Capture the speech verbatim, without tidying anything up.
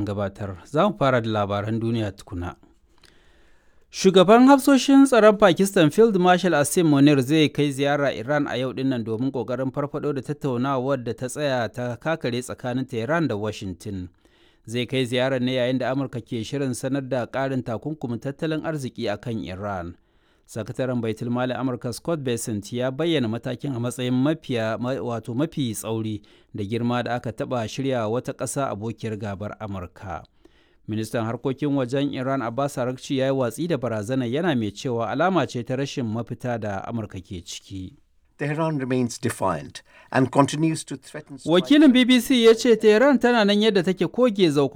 Gabatar za mu fara da labaran duniya tukuna. Shugaban hafsoshin tsaron Pakistan Field Marshal Asim Munir zai kai ziyara Iran a yau dinnan domin kokarin farfado da tattaunawar da ta tsaya ta kakare tsakanin Tehran da Washington. Zai kai ziyarar ne yayin da Amurka ke shirin sanar da ƙarin takunkumin tattalin arziki a kan Iran. Sakataren Baitul Mali Amurka Scott Bessent ya bayyana matakin a matsayin mafiya wato mafi tsauri da girma da aka taɓa shirya wata ƙasa abokiyar gabar Amurka. Ministan harkokin wajen Iran Abbas Araghchi ya yi watsi da barazanar, yana mai cewa alama ce ta rashin mafita da Amurka ke ciki. Tehran remains defiant and continues to threaten. Wakilin B B C ya ce Tehran tana nan yadda take koge zau.